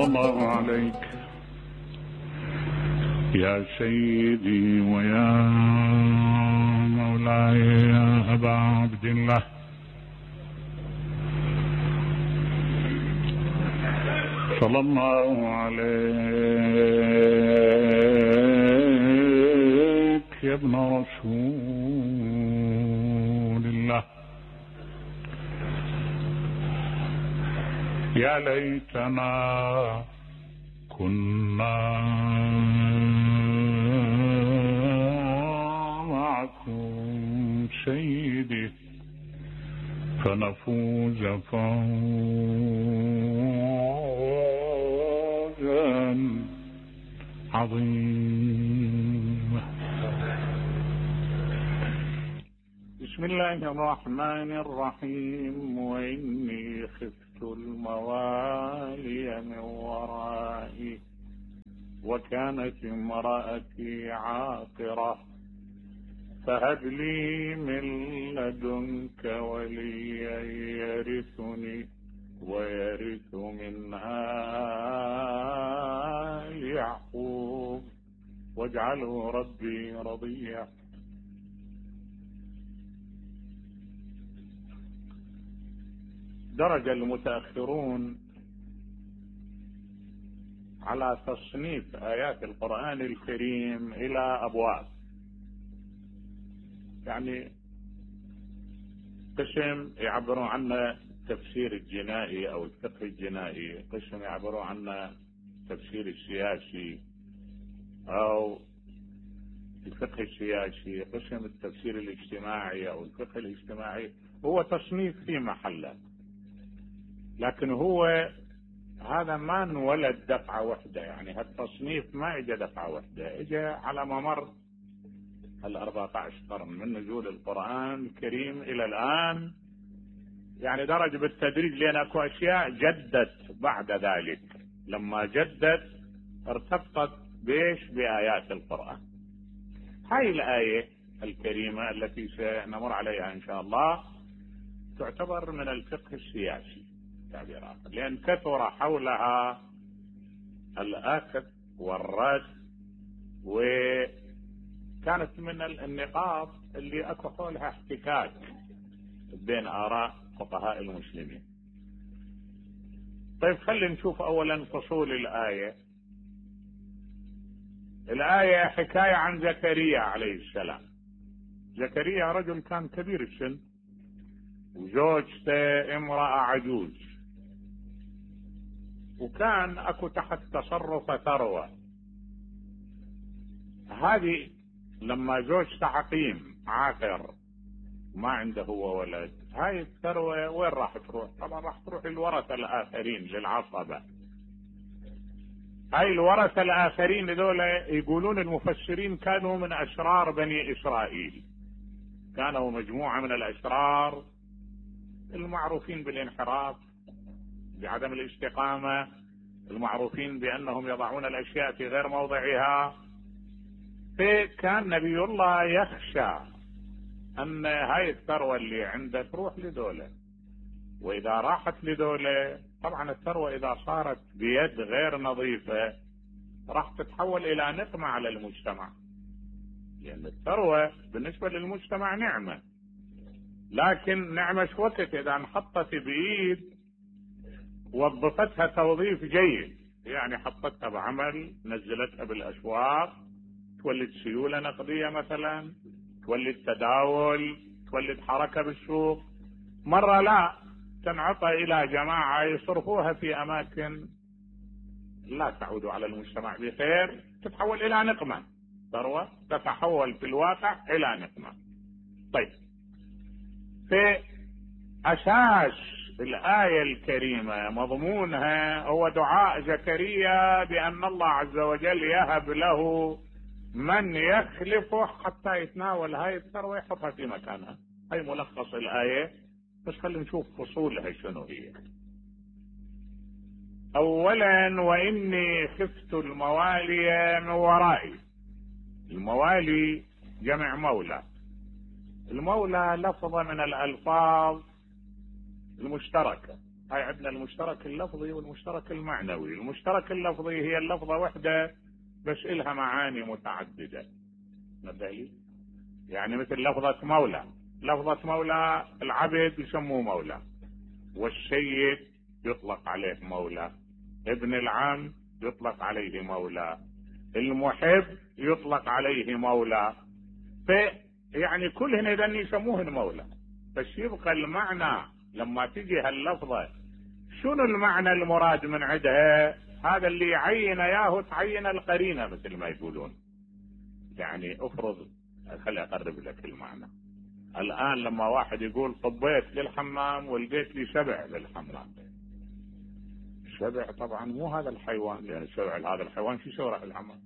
صلى الله عليك يا سيدي ويا مولاي يا أبا عبد الله. صلى الله عليك يا ابن رسول الله. يا ليتنا كنا معكم سيدي فنفوز فوزا عظيما. بسم الله الرحمن الرحيم. وإني خفت الموالي من ورائي وكانت امرأتي عاقرة فهب لي من لدنك وليا يرثني ويرث من آل يعقوب واجعله ربي رضيا. درج المتأخرون على تصنيف آيات القرآن الكريم إلى أبواب، يعني قسم يعبرون عنه التفسير الجنائي أو الفقه الجنائي، قسم يعبرون عنه التفسير السياسي أو الفقه السياسي، قسم التفسير الاجتماعي أو الفقه الاجتماعي. هو تصنيف في محله، لكن هو هذا ما انولد دفعة واحدة، يعني هالتصنيف ما اجى دفعة واحدة، اجى على ممر ال14 قرن من نزول القرآن الكريم الى الان، يعني درج بالتدريج، لان اكو اشياء جدت بعد ذلك. لما جدت ارتبطت بإيش؟ بآيات القرآن. هاي الآية الكريمة التي سنمر عليها ان شاء الله تعتبر من الفقه السياسي تعبيرات، لأن كثر حولها الأخذ والرد، وكانت من النقاط اللي أكو حولها احتكاك بين آراء فقهاء المسلمين. طيب خلينا نشوف أولا فصول الآية. الآية حكاية عن زكريا عليه السلام. زكريا رجل كان كبير السن وزوجته امرأة عجوز، وكان اكو تحت تصرف ثروة. هذه لما زوجته عقيم عاقر ما عنده هو ولد، هاي الثروة وين راح تروح؟ طبعا راح تروح للورثة الآخرين، للعصبة. هاي الورثة الآخرين هذول يقولون المفسرين كانوا من أشرار بني إسرائيل، كانوا مجموعة من الأشرار المعروفين بالانحراف، بعدم الاستقامة، المعروفين بأنهم يضعون الأشياء في غير موضعها. فكان نبي الله يخشى أن هاي الثروة اللي عنده تروح لدولة، وإذا راحت لدولة طبعا الثروة إذا صارت بيد غير نظيفة راح تتحول إلى نقمة على المجتمع، لأن الثروة بالنسبة للمجتمع نعمة، لكن نعمة شو وقت إذا انحطت بإيد وظفتها توظيف جيد، يعني حطتها بعمل، نزلتها بالأسواق، تولد سيولة نقدية مثلا، تولد تداول، تولد حركة بالسوق. مرة لا، تنعطى إلى جماعة يصرفوها في أماكن لا تعود على المجتمع بخير، تتحول إلى نقمة. ثروة تتحول في الواقع إلى نقمة. طيب، في أساس الآية الكريمة مضمونها هو دعاء زكريا بأن الله عز وجل يهب له من يخلفه حتى يتناول هاي الثروة يحطها في مكانها. هاي ملخص الآية، بس خلينا نشوف فصولها شنو هي. أولا، وإني خفت الموالي من ورائي. الموالي جمع مولى. المولى لفظة من الألفاظ المشتركة، هاي عندنا المشترك اللفظي والمشترك المعنوي. المشترك اللفظي هي اللفظة وحدة بس إلها معاني متعددة. نبالي يعني مثل لفظة مولى. لفظة مولى العبد يسموه مولى، والسيد يطلق عليه مولى، ابن العم يطلق عليه مولى، المحب يطلق عليه مولى. يعني كلهن اذن يسموهن مولى، بس يبقى المعنى لما تجي هاللفظة شنو المعنى المراد من عندها؟ هذا اللي يعين اياه تعين القرينة مثل ما يقولون. يعني افرض، خلي اقرب لك المعنى. الان لما واحد يقول طبيت للحمام ولقيت لي سبع للحمام، السبع طبعا مو هذا الحيوان، لان السبع هذا الحيوان شو يسوي راح الحمام؟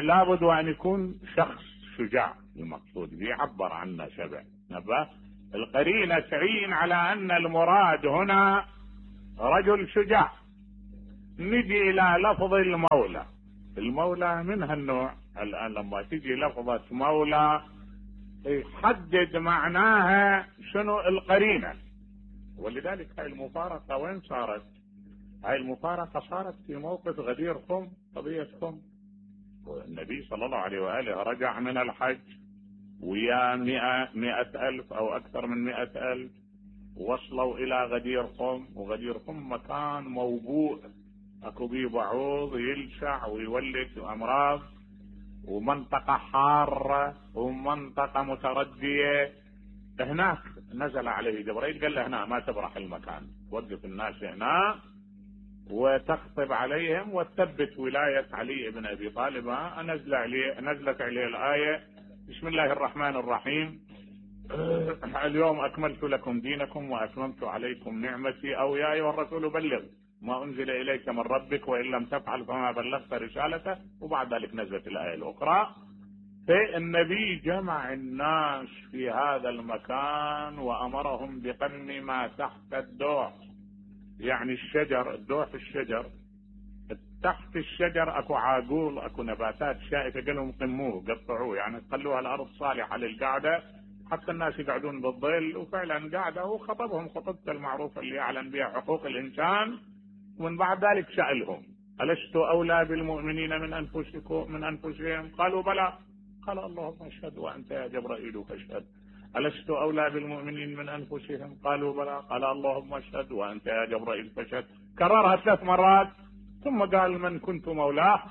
لابد ان يكون شخص شجاع المقصود بيعبر عنه سبع. نبه القرينة تعين على ان المراد هنا رجل شجاع. نجي الى لفظ المولى. المولى من هالنوع. الان لما تجي لفظة مولى يحدد معناها شنو القرينة. ولذلك هاي المفارقة وين صارت؟ هاي المفارقة صارت في موقف غدير خم، قضية خم. والنبي صلى الله عليه وآله رجع من الحج ويا 100,000 أو أكثر من 100,000، وصلوا إلى غدير خم. وغدير خم مكان موبوء، أكو بيه بعوض يلشع ويولد أمراض، ومنطقة حارة ومنطقة متردية. هناك نزل عليه جبريل قال له هنا ما تبرح المكان، وقف الناس هنا وتخطب عليهم وتثبت ولاية علي بن أبي طالب. نزلت عليه الآية بسم الله الرحمن الرحيم اليوم أكملت لكم دينكم وأتممت عليكم نعمتي، أو يا أيها الرسول بلغ ما أنزل إليك من ربك وإن لم تفعل فما بلغت رسالته. وبعد ذلك نزلت الآية الأخرى. فالنبي جمع الناس في هذا المكان وأمرهم بقم ما تحت الدوح، يعني الشجر، الدوح الشجر، تحت الشجر اكو عاقول، اكو نباتات شائكة، قال لهم قموه قطعوه، يعني خلوها الارض صالحة للقعدة حتى الناس يقعدون بالظل. وفعلا قعدة وخطبهم خطبته المعروفة اللي يعلن بها حقوق الانسان. ومن بعد ذلك سألهم ألست أولى بالمؤمنين من أنفسهم؟ قالوا بلى. قال اللهم اشهد وأنت يا جبرائيل فاشهد. ألست أولى بالمؤمنين من أنفسهم؟ قالوا بلى. قال اللهم اشهد وأنت يا جبرائيل فاشهد. كررها 3 مرات ثم قال من كنت مولاه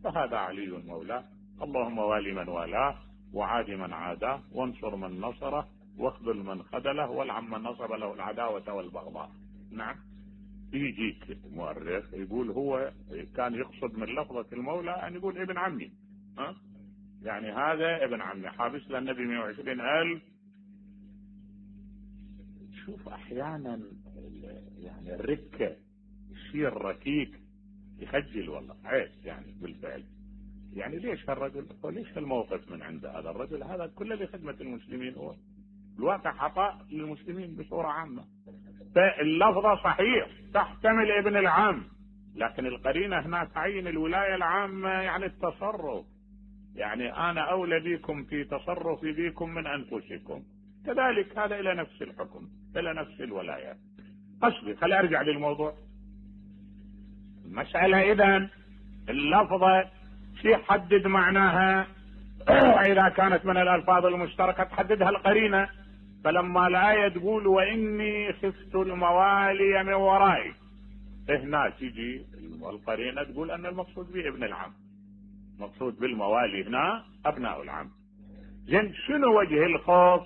فهذا علي مولاه، اللهم والي من والاه وعاد من عاداه وانصر من نصره واخذل من خذله والعن من نصب له العداوة والبغضاء. نعم. يجيك مؤرخ يقول هو كان يقصد من لفظة المولى أن يقول ابن عمي، يعني هذا ابن عمي حابس للنبي 120,000. شوف أحيانا يعني الركة يصير ركيك يخجل والله عيش يعني بالفعل. يعني ليش هالرجل، ليش هالموقف من عند هذا الرجل؟ هذا كله لخدمة المسلمين، هو الواقع عطاء للمسلمين بصورة عامة. فاللفظة صحيح تحتمل ابن العام، لكن القرينة هنا تعين الولاية العامة، يعني التصرف. يعني أنا أولى بكم في تصرفي بكم من أنفسكم، كذلك هذا إلى نفس الحكم، إلى نفس الولاية. قصدي خلي أرجع للموضوع. المسألة إذن اللفظة شي حدد معناها إذا كانت من الألفاظ المشتركة تحددها القرينة. فلما الآية تقول وإني خفت الموالي من ورائي، هنا تجي القرينة تقول أن المقصود به ابن العم، مقصود بالموالي هنا أبناء العم. زين شنو وجه الخوف؟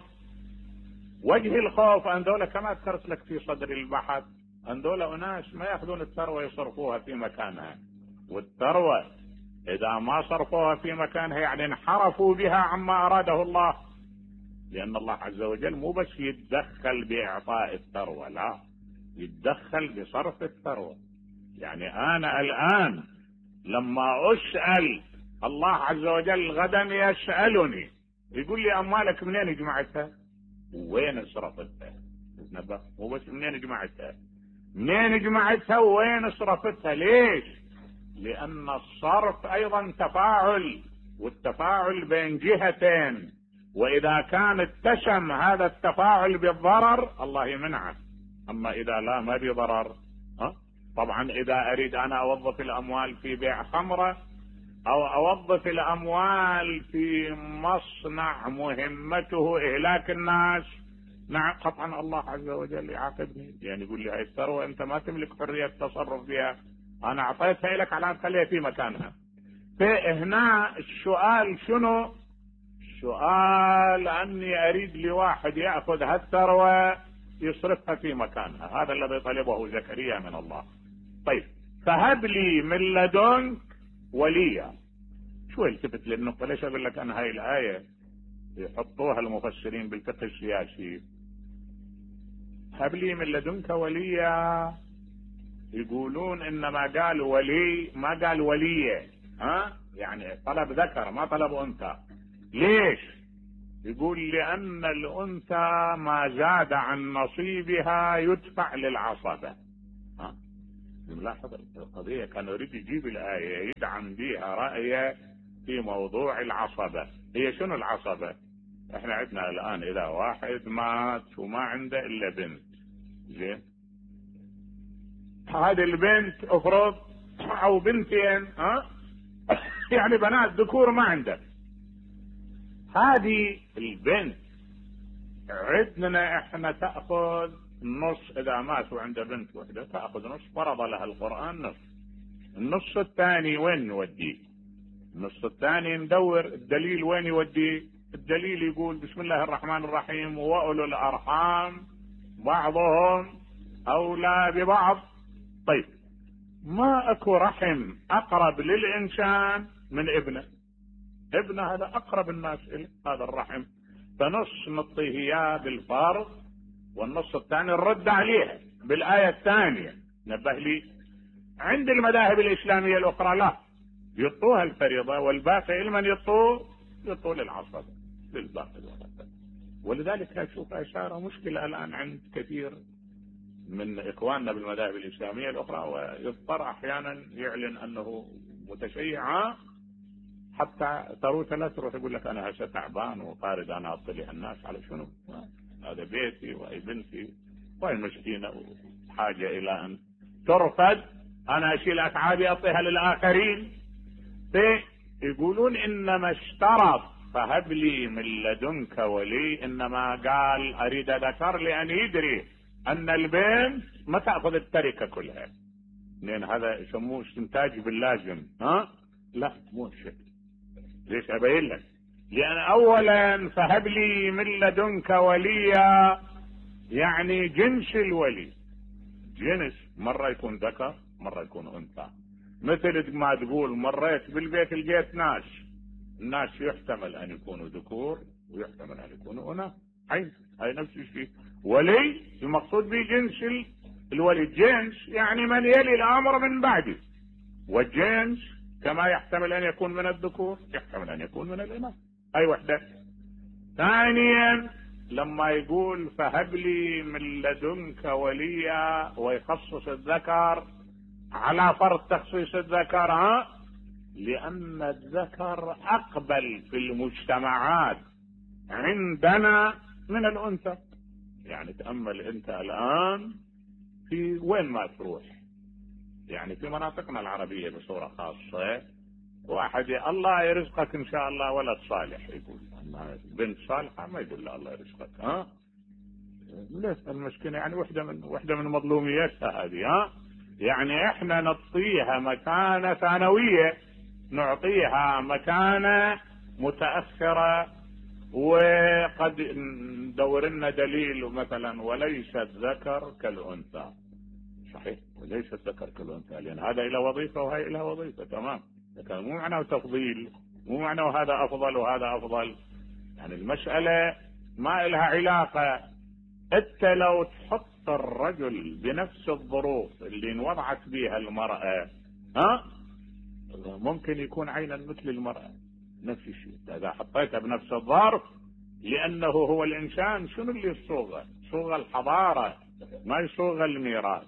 وجه الخوف أن دولة كما ذكرت لك في صدر البحث، أن دولة أناس ما يأخذون الثروة يصرفوها في مكانها، والثروة إذا ما صرفوها في مكانها يعني انحرفوا بها عما أراده الله. لأن الله عز وجل مو بس يتدخل بإعطاء الثروة، لا، يتدخل بصرف الثروة. يعني أنا الآن لما أسأل الله عز وجل غدا يسألني يقول لي أموالك منين جمعتها وين صرفتها؟ مو بس منين جمعتها، منين جمعتها وين صرفتها. ليش؟ لأن الصرف أيضا تفاعل، والتفاعل بين جهتين، وإذا كان اتسم هذا التفاعل بالضرر الله يمنعه. اما اذا لا ما بي ضرر. طبعا اذا اريد انا اوظف الاموال في بيع خمرة او اوظف الاموال في مصنع مهمته اهلاك الناس، نعم قطعا الله عز وجل يعاقبني، يعني يقول لي هاي الثروة انت ما تملك حرية التصرف فيها، انا اعطيتها لك على ان تخليها في مكانها. فهنا السؤال شنو؟ السؤال اني اريد لواحد ياخذ هالثروة يصرفها في مكانها، هذا الذي طلبه زكريا من الله. طيب فهب لي من لدنك وليا. شو التفت للنقطة؟ ليش اقول لك انا هاي الاية يحطوها المفسرين بالفقه السياسي، هب لي من لدنك وليا، يقولون انما قال ولي ما قال ولية، يعني طلب ذكر ما طلب انثى. ليش؟ يقول لان الانثى ما زاد عن نصيبها يدفع للعصبة. ملاحظ القضية، كان يريد يجيب الآية يدعم بها رأيه في موضوع العصبة. هي شنو العصبة؟ احنا عندنا الآن اذا واحد مات وما عنده الا بنت، زين، هذه البنت افرض او بنتين، يعني بنات ذكور ما عنده، هذه البنت عندنا احنا تأخذ النص، اذا مات وعنده بنت وحده تأخذ نص، فرض لها القرآن نص. النص الثاني وين نوديه؟ النص الثاني ندور الدليل وين يوديه؟ الدليل يقول بسم الله الرحمن الرحيم وأولو الأرحام بعضهم أولى ببعض. طيب ما اكو رحم اقرب للانسان من ابنه، ابنه هذا اقرب الناس اليه هذا الرحم، فنص نعطيه اياه بالفرض والنص الثاني نرد عليه بالايه الثانيه. نبه لي عند المذاهب الاسلاميه الاخرى لا، يعطوها الفريضه والباقي لمن يعطوه للعصبه للباقي الولد. ولذلك اشوف اشاره مشكله الان عند كثير من اخواننا بالمذاهب الاسلاميه الاخرى، ويضطر احيانا يعلن انه متشيع، حتى ثروته لا تروح يقول لك انا هسه تعبان وطارد انا اطلع الناس على شنو؟ هذا بيتي وهي بنتي وهي مسكينه وحاجه الى ان ترفد، انا اشيل اتعابي اعطيها للاخرين. يقولون انما اشترط فهب لي من لدنك ولي، انما قال اريد ذكر لان يدري ان البنت ما تاخذ التركه كلها، لان هذا يسموه استنتاج باللازم. لا مو شيء. ليش ابين لك؟ لان اولا فهب لي من لدنك وليا يعني جنس الولي، جنس مره يكون ذكر مره يكون انثى، مثل ما تقول مريت بالبيت لقيت ناس، الناس يحتمل ان يكونوا ذكور ويحتمل ان يكونوا اناث، هاي نفس الشيء. ولي المقصود به جنس الولي، جنس يعني من يلي الامر من بعده، والجنس كما يحتمل ان يكون من الذكور يحتمل ان يكون من الاناث، اي وحده. ثانيا لما يقول فهب لي من لدنك وليا ويخصص الذكر على فرض تخصيص الذكر، لان الذكر اقبل في المجتمعات عندنا من الانثى. يعني تأمل انت الان في وين ما تروح، يعني في مناطقنا العربية بصورة خاصة، واحد الله يرزقك ان شاء الله ولد صالح، يقول بنت صالحة ما يقول له الله يرزقك، ليش المشكلة؟ يعني وحدة من مظلومياتها هذه، يعني احنا نعطيها مكانة ثانوية، نعطيها مكانة متأخرة، وقد ندور لنا دليل مثلا وليس الذكر كالأنثى، صحيح وليس الذكر كالأنثى، لأن هذا إلى وظيفة وهي إلى وظيفة، تمام، لكن مو معناه تفضيل، مو معناه هذا أفضل وهذا أفضل، يعني المسألة ما إلها علاقة. انت لو تحط الرجل بنفس الظروف اللي انوضعت بها المرأة، ممكن يكون عينا مثل المرأة، نفس الشيء اذا حطيته بنفس الظرف، لانه هو الانسان شنو اللي يصوغه؟ صوغ الحضارة ما يصوغ الميراث.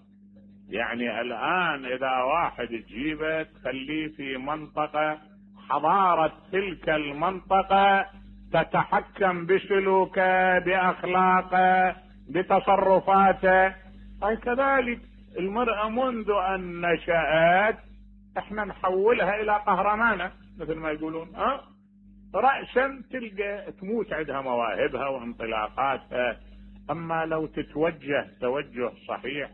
يعني الان اذا واحد تجيبه تخليه في منطقة، حضارة تلك المنطقة تتحكم بسلوكه باخلاقه بتصرفاته، هاي كذلك المرأة منذ ان نشأت احنا نحولها الى قهرمانة مثل ما يقولون، رأسا تلقى تموت عندها مواهبها وانطلاقاتها. اما لو تتوجه توجه صحيح،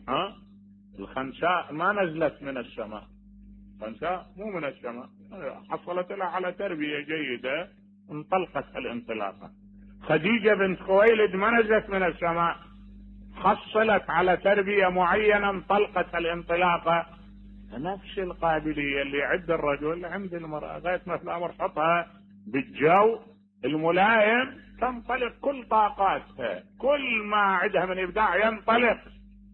الخنساء ما نزلت من السماء، الخنساء مو من السماء، حصلت لها على تربية جيدة انطلقت الانطلاقة. خديجة بنت خويلد ما نزلت من السماء، حصلت على تربية معينة انطلقت الانطلاقة. نفس القابلية اللي عند الرجل عند المرأة، غاية ما في الامر حطها بالجو الملائم تنطلق كل طاقاتها، كل ما عندها من ابداع ينطلق.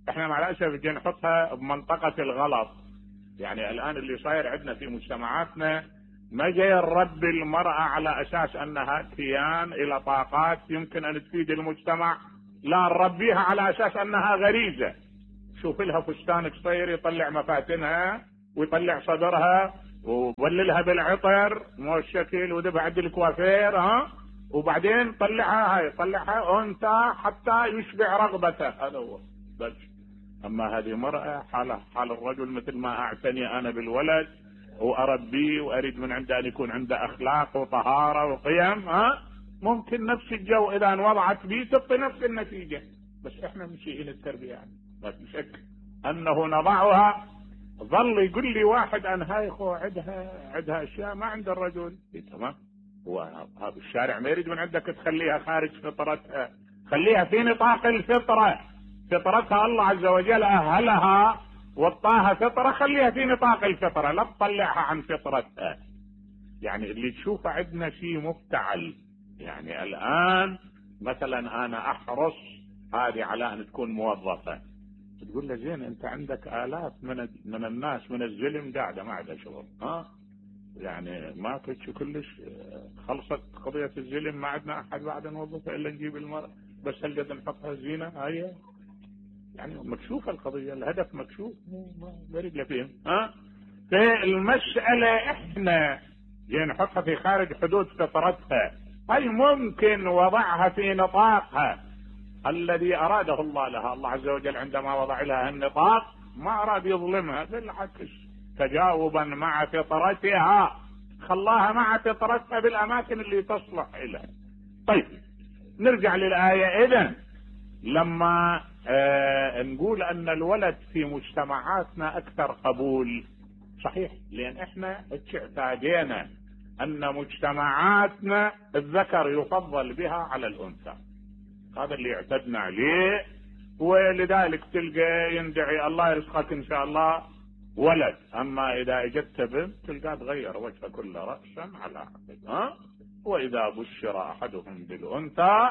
احنا مع الاسف جاي نحطها بمنطقة الغلط. يعني الان اللي صاير عندنا في مجتمعاتنا ما جاي نربي المرأة على اساس انها كيان الى طاقات يمكن ان تفيد المجتمع، لا نربيها على اساس انها غريزة. شوف لها فستان قصير يطلع مفاتنها ويطلع صدرها وبللها بالعطر مو الشكل ودفع عند الكوافير، وبعدين طلعها انثى حتى يشبع رغبته، هذا هو بس. اما هذه مرأة حالة حال الرجل، مثل ما اعتني انا بالولد واربيه واريد من عنده ان يكون عنده اخلاق وطهارة وقيم، ممكن نفس الجو اذا انوضعت به تعطي نفس النتيجة. بس احنا مسيئين التربية، يعني ما في شك انه نضعها. ظل يقول لي واحد ان هاي خو عندها اشياء ما عند الرجل، تمام، وهذا الشارع ما يريد من عندك تخليها خارج فطرتها، خليها في نطاق الفطرة. فطرتها الله عز وجل اهلها وطاها فطرة، خليها في نطاق الفطرة، لا تطلعها عن فطرتها. يعني اللي تشوفه عندنا شيء مفتعل. يعني الان مثلا انا احرص هذه على ان تكون موظفة، تقول له زين انت عندك الاف من الناس من الزلم قاعدة ما عندها شغل، يعني ما كنتش كلش خلصت قضية الزلم، ما عندنا احد بعد نوظفه الا نجيب المرأة بس هل نحطها زينة. هاي يعني مكشوفة القضية، الهدف مكشوف، ما يريد له فهم. في المسألة احنا جاي نحطها في خارج حدود فطرتها، هاي ممكن وضعها في نطاقها الذي اراده الله لها. الله عز وجل عندما وضع لها النطاق ما اراد يظلمها، بالعكس تجاوبا مع فطرتها خلاها مع فطرتها بالاماكن اللي تصلح لها. طيب نرجع للآية. اذن لما نقول ان الولد في مجتمعاتنا اكثر قبول، صحيح، لان احنا اعتادينا ان مجتمعاتنا الذكر يفضل بها على الانثى، هذا اللي اعتدنا عليه، ولذلك تلقى يندعي الله يرزقك ان شاء الله ولد، اما اذا اجت بنت تلقى تغير وجهه كل رأسا على عقب، واذا بشر احدهم بالانثى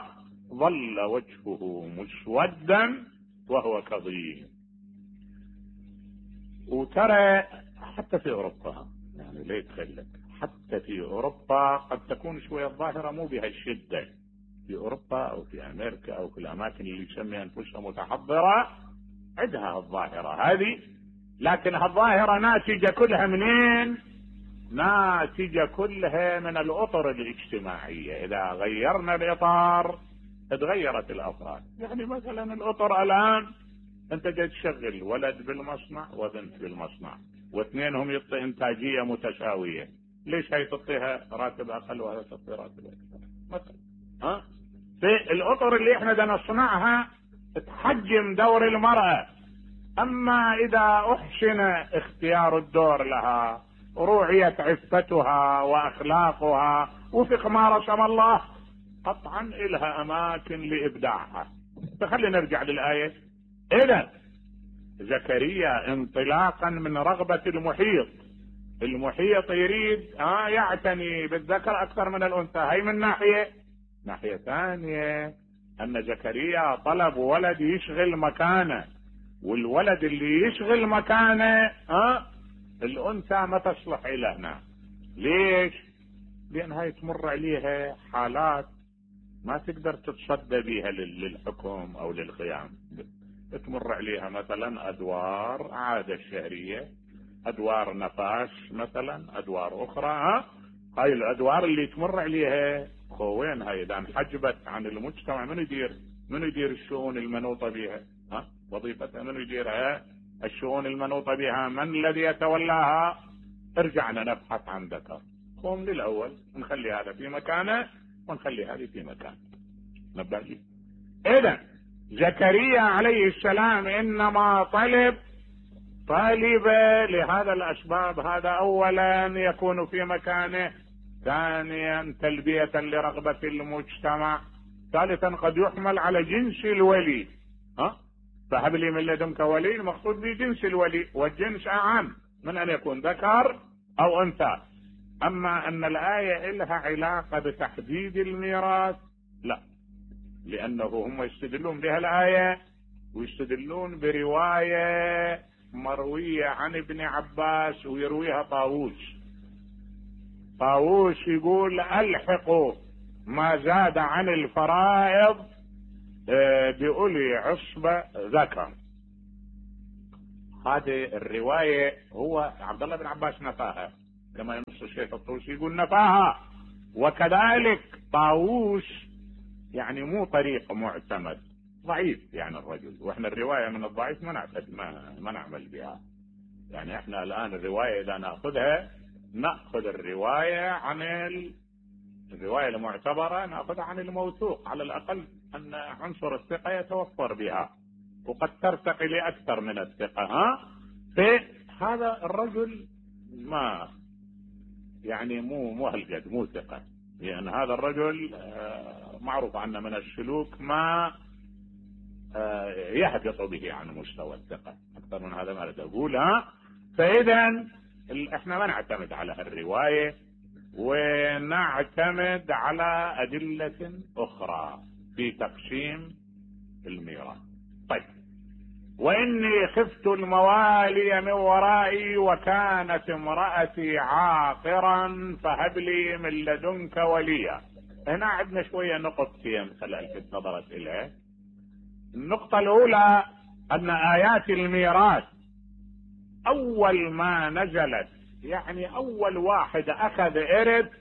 ظل وجهه مسودا وهو كظيم. وترى حتى في اوروبا، يعني ليه تخلك حتى في اوروبا قد تكون شوية الظاهرة مو بهالشدة، في اوروبا او في امريكا او في الاماكن اللي يسمي انفسها متحضرة عندها الظاهرة هذه، لكن هالظاهرة ناتجة كلها منين؟ ناتجة كلها من الاطر الاجتماعية. اذا غيرنا الاطار تغيرت الافراد. يعني مثلا الاطر الان انت جاي تشغل ولد بالمصنع وبنت بالمصنع واثنينهم يعطي انتاجية متساوية، ليش هي تعطيها راتب اقل وهي تعطي راتب اكثر مثلا؟ في الاطر اللي احنا بدنا نصنعها تحجم دور المرأة. اما اذا احسن اختيار الدور لها، روعيت عفتها واخلاقها وفق ما رسم الله، قطعا الها اماكن لابداعها. فخلينا نرجع للآية. اذا زكريا انطلاقا من رغبة المحيط يريد يعتني بالذكر اكثر من الانثى، هي من ناحية ثانية ان زكريا طلب ولد يشغل مكانه، والولد اللي يشغل مكانه الانثى ما تصلح الى هنا. ليش؟ لان هاي تمر عليها حالات ما تقدر تتصدى بيها للحكم او للقيام. تمر عليها مثلا ادوار عادة الشهرية، ادوار نفاس مثلا، ادوار اخرى. هاي الادوار اللي تمر عليها خوين هاي اذا انحجبت عن المجتمع من يدير الشؤون المنوطة بها؟ وظيفة من يديرها؟ الشؤون المنوطة بها من الذي يتولاها؟ ارجعنا نبحث عن ذكر. قوم للأول، نخلي هذا في مكانه ونخلي هذه في مكانه. نبهي. إذا زكريا عليه السلام إنما طلب لهذا الأسباب. هذا أولا يكون في مكانه، ثانيا تلبية لرغبة المجتمع، ثالثا قد يحمل على جنس الولي. فهب لي من لدنك ولي، المقصود بجنس الولي، والجنس أعم من أن يكون ذكر أو أنثى. أما أن الآية لها علاقة بتحديد الميراث، لا، لأنه هم يستدلون بها الآية ويستدلون برواية مروية عن ابن عباس ويرويها طاووس يقول ألحقوا ما زاد عن الفرائض بأولي عصبة ذكر. هذه الرواية هو عبد الله بن عباس نفاها، كما ينص الشيخ الطوسي يقول نفاها، وكذلك طاووس يعني مو طريق معتمد، ضعيف يعني الرجل، واحنا الرواية من الضعيف ما نعمل بها. يعني احنا الآن الرواية إذا نأخذ الرواية عن الرواية المعتبرة، نأخذها عن الموثوق، على الأقل أن عنصر الثقة يتوفر بها، وقد ترتقي لأكثر من الثقة. فهذا الرجل ما يعني مو هالقد، مو ثقة، لأن هذا الرجل معروف عنه من السلوك ما يهبط به عن مستوى الثقة. أكثر من هذا ما أريد أقول. فإذا احنا ما نعتمد على الرواية، ونعتمد على أدلة أخرى في تقسيم الميراث. طيب، وإني خفت الموالي من ورائي وكانت امرأتي عاقرا فهب لي من لدنك وليا. هنا عندنا شوية نقطتين التي نظرت إليها. النقطة الأولى أن آيات الميراث أول ما نزلت، يعني أول واحد أخذ إرث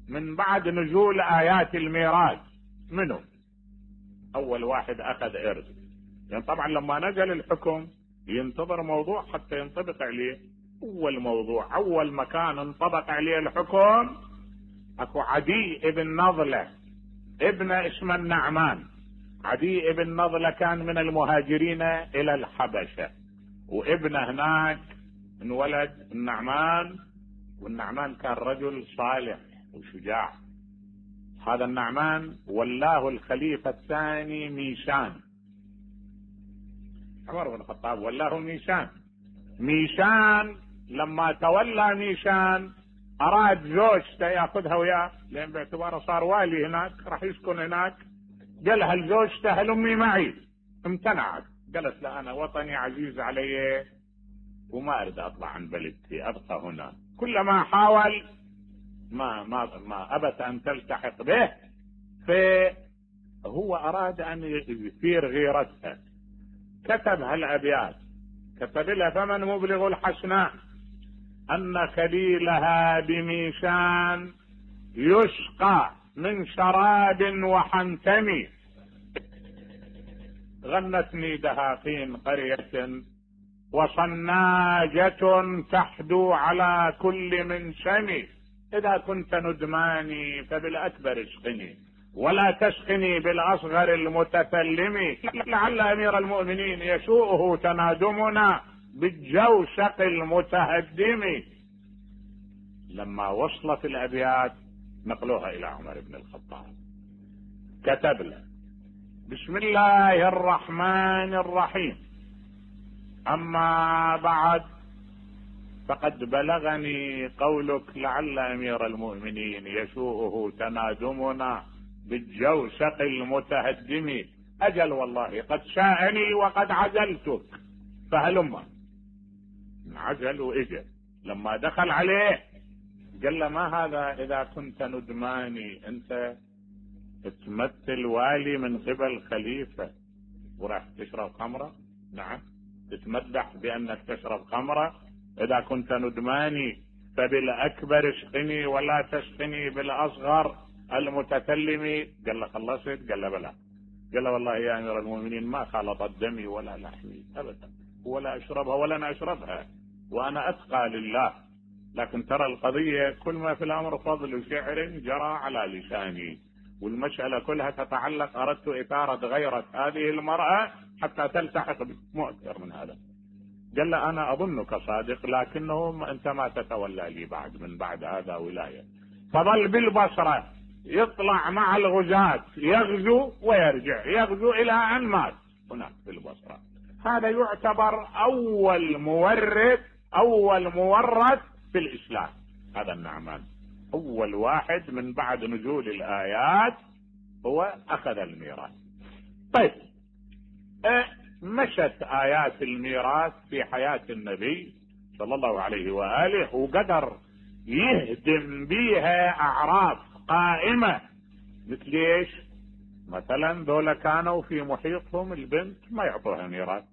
من بعد نزول آيات الميراث منه، أول واحد أخذ إرث. يعني طبعا لما نزل الحكم ينتظر موضوع حتى ينطبق عليه. أول مكان انطبق عليه الحكم أكو عدي ابن نضلة ابن اسم النعمان. عدي ابن نضلة كان من المهاجرين إلى الحبشة، وابنه هناك انولد النعمان، والنعمان كان رجل صالح وشجاع. هذا النعمان ولاه الخليفة الثاني ميشان، عمر بن الخطاب ولاه ميشان. لما تولى ميشان أراد زوجته يأخذها وياه، لأن باعتباره صار والي هناك راح يسكن هناك. قالها لزوجته هل أمي معي؟ امتنعت، قالت لا، أنا وطني عزيز علي وما أريد أطلع عن بلدتي، أبقى هنا. كلما حاول ما أبت أن تلتحق به، فهو أراد أن يثير غيرتها. كتب هالأبيات، كتب لها فمن مبلغ الحسناء أن خليلها بميشان يسقى من شراب وحنتم. غنتني دهاقين قرية وصناجة تحدو على كل منشم. إذا كنت ندماني فبالأكبر اسقني ولا تسقني بالأصغر المتثلم. لعل أمير المؤمنين يسوءه تنادمنا بالجوشق المتهدم. لما وصلت الأبيات نقلوها إلى عمر بن الخطاب، كتب له بسم الله الرحمن الرحيم، أما بعد فقد بلغني قولك لعل أمير المؤمنين يسوءه تنادمنا بالجوشق المتهدم. أجل والله قد شاءني وقد عزلتك فهلما. عزل وإجل. لما دخل عليه قال له ما هذا؟ إذا كنت ندماني أنت تمثل والي من قبل خليفة وراح تشرب خمرة؟ نعم، تتمدح بأنك تشرب خمرة. إذا كنت ندماني فبالأكبر اسقني ولا تسقني بالأصغر المتكلم. قال له خلصت؟ قال له بلى. قال له والله يا امير المؤمنين ما خلطت دمي ولا لحمي ابدا، ولا اشربها ولا انا اشربها، وانا اتقى لله، لكن ترى القضية كل ما في الامر فضل شعر جرى على لساني، والمسألة كلها تتعلق، اردت اثارة غيرة هذه المرأة حتى تلتحق بي، مو اكثر من هذا. قال له انا اظنك صادق، لكنه انت ما تتولى لي من بعد هذا ولاية. فظل بالبصرة يطلع مع الغزاة يغزو ويرجع، يغزو الى ان مات هناك في البصرة. هذا يعتبر اول مورث في الاسلام، هذا النعمان اول واحد من بعد نزول الايات هو اخذ الميراث. طيب مشت ايات الميراث في حياة النبي صلى الله عليه وآله، وقدر يهدم بيها اعراف قائمة. مثل ايش؟ مثلا ذولا كانوا في محيطهم البنت ما يعطوها ميراث.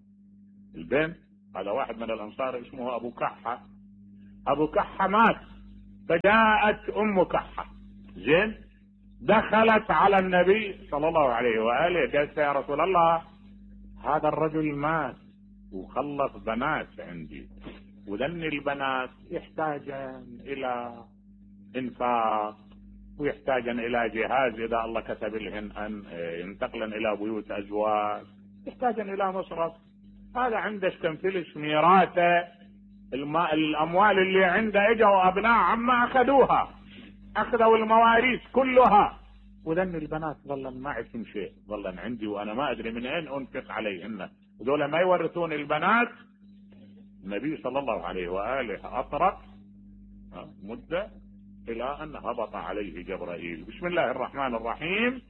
البنت، هذا واحد من الانصار اسمه ابو كحة، ابو كحة مات، فجاءت ام كحة زين، دخلت على النبي صلى الله عليه وآله، قالت يا رسول الله هذا الرجل مات وخلص بنات عندي، وذن البنات يحتاجن الى انفاق، ويحتاجن الى جهاز اذا الله كتب لهن ان ينتقلن الى بيوت ازواج، يحتاجن الى مصرف. هذا عندك تنفلش ميراثه، الاموال اللي عنده اجوا ابناء عما اخذوها، اخذوا المواريث كلها، وذن البنات ظلن ما عندهم شيء، ظلن عندي وانا ما ادري من اين انفق عليهن، ذولا ما يورثون البنات. النبي صلى الله عليه واله اطرق مده الى ان هبط عليه جبرائيل. بسم الله الرحمن الرحيم،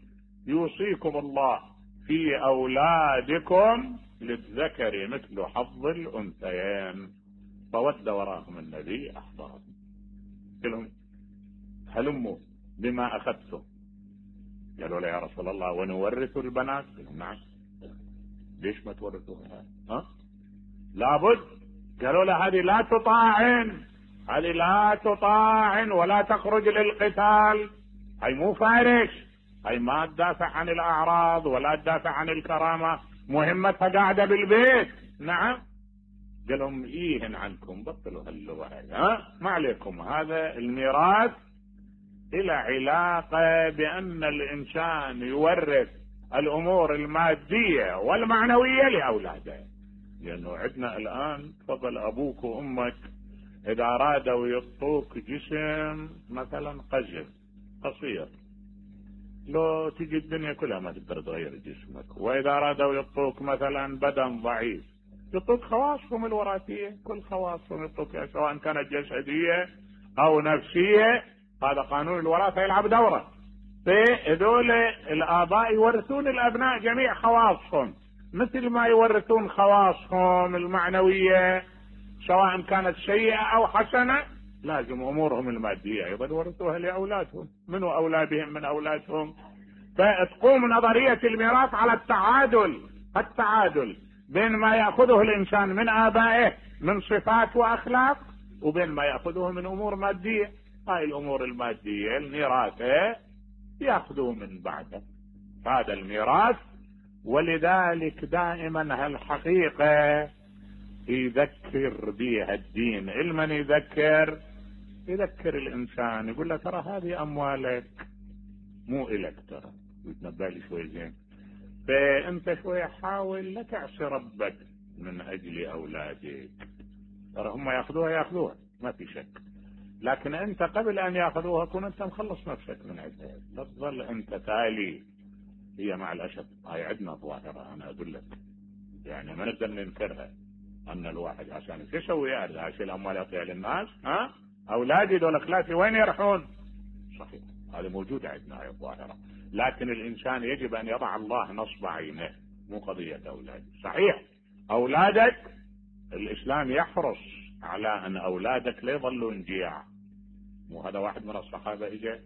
يوصيكم الله في اولادكم للذكر مثل حظ الانثيين. فود وراهم النبي احضرهم، قالوا هلموا بما اخذتم. قالوا له يا رسول الله ونورث البنات؟ قالوا نعم. ليش ما تورثوها؟ لابد. قالوا له هذه لا تطاعن، هذه لا تطاعن ولا تخرج للقتال، هي مو فارس، هي ما تدافع عن الاعراض ولا تدافع عن الكرامة، مهمتها قاعدة بالبيت. نعم. قال لهم ايهن عنكم، بطلوا هاللغة ما عليكم، هذا الميراث الى علاقة بان الانسان يورث الامور المادية والمعنوية لاولاده. لانه عندنا الان تفضل ابوك وامك اذا ارادوا يعطوك جسم مثلا قصير، لو تجي الدنيا كلها ما تقدر تغير جسمك، واذا ارادوا يعطوك مثلا بدن ضعيف يعطوك خواصهم الوراثية، كل خواصهم يعطوك سواء كانت جسدية او نفسية. هذا قانون الوراثة يلعب دوره. فهذول الاباء يورثون الابناء جميع خواصهم، مثل ما يورثون خواصهم المعنوية سواء كانت سيئة او حسنة، لازم امورهم المادية ايضا يورثوها لاولادهم. منو اولادهم من اولادهم؟ فتقوم نظرية الميراث على التعادل بين ما يأخذه الانسان من ابائه من صفات واخلاق، وبين ما يأخذه من امور مادية. هاي الامور المادية الميراثة يأخذوه من بعده، هذا الميراث. ولذلك دائما هالحقيقة يذكر بها الدين. المن يذكر الانسان، يقول له ترى هذه اموالك مو الك، ترى يتنبأ لي شوي زين، فانت شوي حاول لا تعصي ربك من اجل اولادك. ترى هم ياخذوها ما في شك، لكن انت قبل ان ياخذوها كن انت مخلص نفسك من عندها، لا تظل انت تالي. هي مع الاسف هاي عندنا ظاهرة، انا اقول لك يعني ما نقدر ننكرها، ان الواحد عشان شو يسوي عشان الاموال يعطيها للناس، اولادي دول اخلاتي وين يروحون؟ صحيح هذا موجود عندنا هاي الظاهرة، لكن الانسان يجب ان يضع الله نصب عينه، مو قضية اولادي. صحيح اولادك الاسلام يحرص على ان اولادك لا يظلون جياع. مو هذا واحد من الصحابة اجى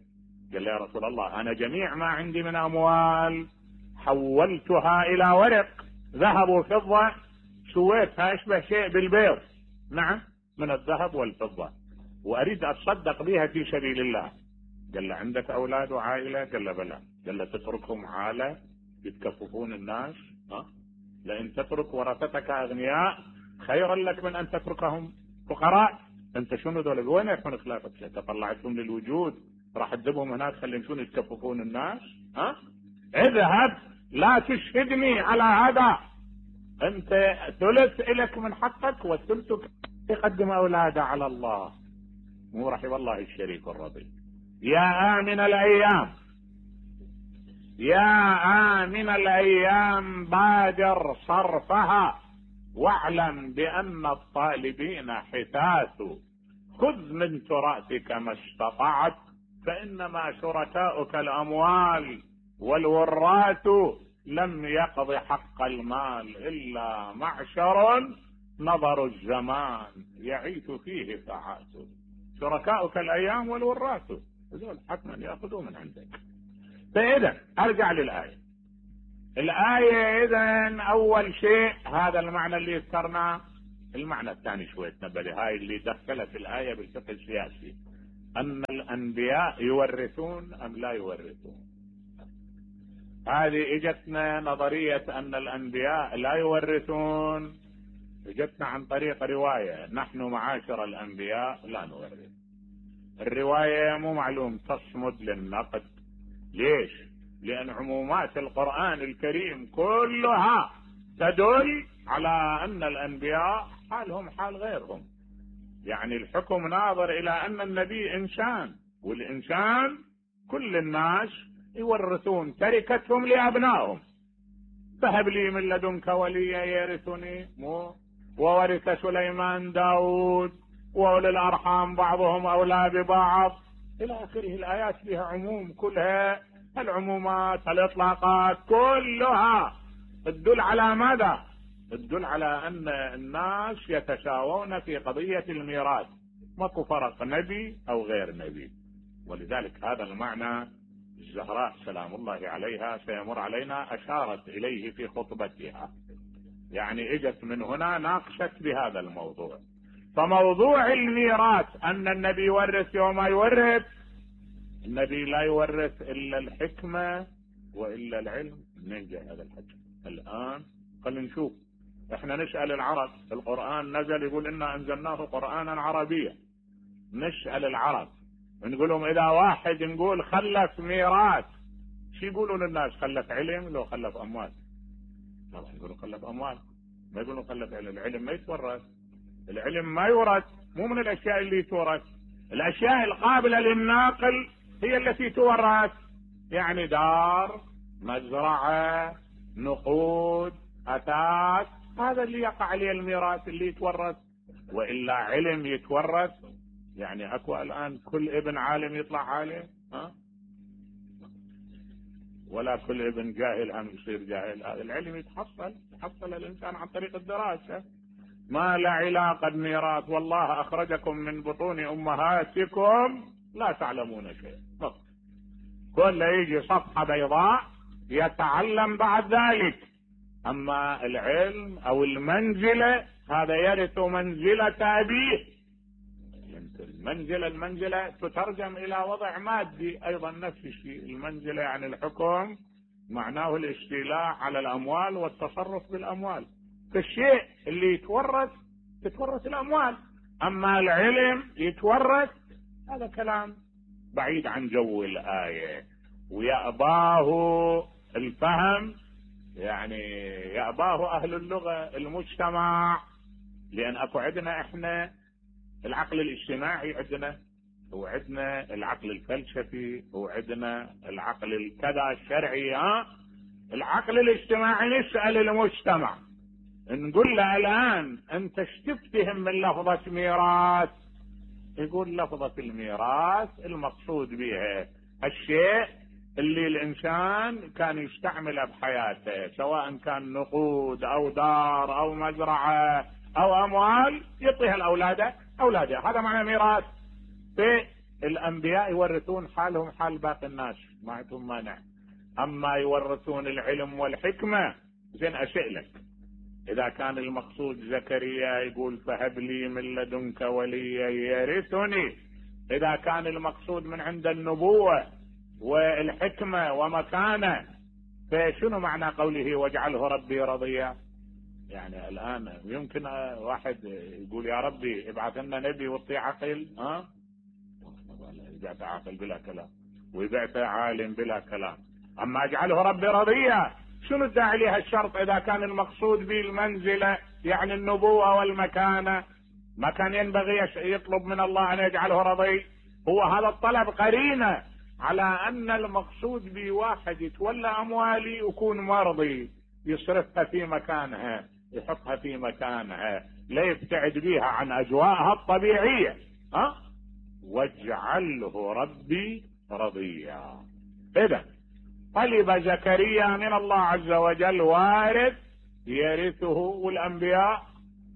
قال لي يا رسول الله انا جميع ما عندي من اموال حولتها الى ورق ذهب وفضة، سويتها اشبه شيء بالبيض، نعم من الذهب والفضة، واريد اتصدق بها في سبيل الله. قال له عندك اولاد وعائلة؟ قال له بلى. قال له تتركهم عالة؟ يتكففون الناس. لئن تترك ورثتك اغنياء خيرا لك من ان تتركهم فقراء. انت شنو ذول؟ وين يكون خلافك؟ انت طلعتهم للوجود راح تذبهم هناك خليهم شنو يتكففون الناس؟ اذهب لا تشهدني على هذا. انت ثلث الك من حقك والثلث يقدم اولاده على الله. مو رحم الله الشريك الرضي. يا آمن الأيام، يا آمن الأيام بادر صرفها واعلم بأن الطالبين حثاث. خذ من تراثك ما استطعت فإنما شركاؤك الأموال والوراث لم يقض حق المال إلا معشر نظر الزمان يعيث فيه ساعات. شركاؤك الأيام والوراث هذول حتما يأخذوا من عندك. فإذا أرجع للآية. الآية إذن أول شيء هذا المعنى اللي ذكرناه. المعنى الثاني شوية تنبه، هاي اللي دخلت الآية بالفقه السياسي، أن الأنبياء يورثون أم لا يورثون. هذه اجتنا نظرية أن الأنبياء لا يورثون، اجتنا عن طريق رواية نحن معاشر الأنبياء لا نورث. الرواية مو معلوم تصمد للنقد. ليش؟ لأن عمومات القرآن الكريم كلها تدل على أن الأنبياء حالهم حال غيرهم. يعني الحكم ناظر إلى أن النبي إنسان، والإنسان كل الناس يورثون تركتهم لأبنائهم. فهب لي من لدنك وليا يرثني، وورث سليمان داود وأولي الأرحام بعضهم أولى ببعض إلى آخره. الآيات فيها عموم كلها، العمومات الإطلاقات كلها تدل على ماذا؟ تدل على أن الناس يتساوون في قضية الميراث، ماكو فرق نبي أو غير نبي. ولذلك هذا المعنى الزهراء سلام الله عليها سيمر علينا أشارت إليه في خطبتها. يعني اجت من هنا ناقشت بهذا الموضوع. فموضوع الميراث أن النبي يورث وما يورث، النبي لا يورث إلا الحكمة وإلا العلم. منين جاء هذا الحكم الآن؟ خلينا نشوف. احنا نسأل العرب، القرآن نزل يقول إنا أنزلناه قرآنا عربيا. نسأل العرب نقول لهم إذا واحد نقول خلف ميراث شو يقولوا للناس؟ خلف علم لو خلف أموال؟ طبعا يقولوا خلف أموال، ما يقولوا خلف علم. العلم ما يتورث، العلم ما يورث، مو من الأشياء اللي تورث. الأشياء القابلة للناقل هي التي تورث. يعني دار، مزرعة، نقود، أثاث، هذا اللي يقع عليه الميراث اللي يتورث. وإلا علم يتورث؟ يعني أكو الآن كل ابن عالم يطلع عالم؟ ولا كل ابن جاهل هم يصير جاهل. هذا العلم يتحصل الإنسان عن طريق الدراسة. ما له علاقة بميراث. والله أخرجكم من بطون أمهاتكم لا تعلمون شيء. كل يجي صفحة بيضاء يتعلم بعد ذلك. أما العلم أو المنزلة هذا يرث منزلة أبيه. المنزلة تترجم إلى وضع مادي أيضا نفس الشيء. المنزلة يعني الحكم معناه الاستيلاء على الأموال والتصرف بالأموال. فالشيء اللي تتورث الأموال. أما العلم يتورث، هذا كلام بعيد عن جو الآية ويأباه الفهم. يعني يأباه أهل اللغة المجتمع. لأن أكو عندنا إحنا العقل الاجتماعي عندنا، وعندنا العقل الفلسفي، وعندنا العقل الكذا الشرعي. العقل الاجتماعي نسأل المجتمع نقول له الآن أنت ايش تفتهم من لفظة ميراث؟ يقول لفظة الميراث المقصود بها الشيء اللي الإنسان كان يستعمله بحياته، سواء كان نقود أو دار أو مزرعة أو أموال يعطيها الأولاد. هذا معنى ميراث. الأنبياء يورثون حالهم حال باقي الناس، ما عندهم مانع. أما يورثون العلم والحكمة، زين أسألك، إذا كان المقصود زكريا يقول فهب لي من لدنك وليا يرثني، إذا كان المقصود من عند النبوة والحكمة ومكانه، فشنو معنى قوله واجعله ربي رضيا؟ يعني الآن يمكن واحد يقول يا ربي ابعث لنا نبي وطي عقل، يبعث عاقل بلا كلام ويبعث عالم بلا كلام. أما اجعله ربي رضيا شنو الداعي لها الشرط إذا كان المقصود به المنزلة يعني النبوة والمكانة؟ ما كان ينبغي يطلب من الله أن يجعله رضي؟ هو هذا الطلب قرينة على أن المقصود به واحد يتولى أموالي يكون مرضي، يصرفها في مكانها، يحطها في مكانها، لا يبتعد بها عن أجواءها الطبيعية. واجعله ربي رضيا. إذا طلب زكريا من الله عز وجل وارث يرثه، والأنبياء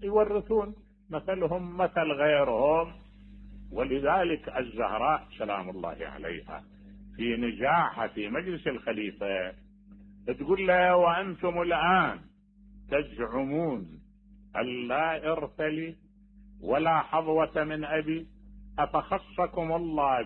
يورثون مثلهم مثل غيرهم. ولذلك الزهراء سلام الله عليها في نجاحها في مجلس الخليفة تقول له وأنتم الآن تزعمون أن لا إرث لي ولا حظوة من أبي، أفخصكم الله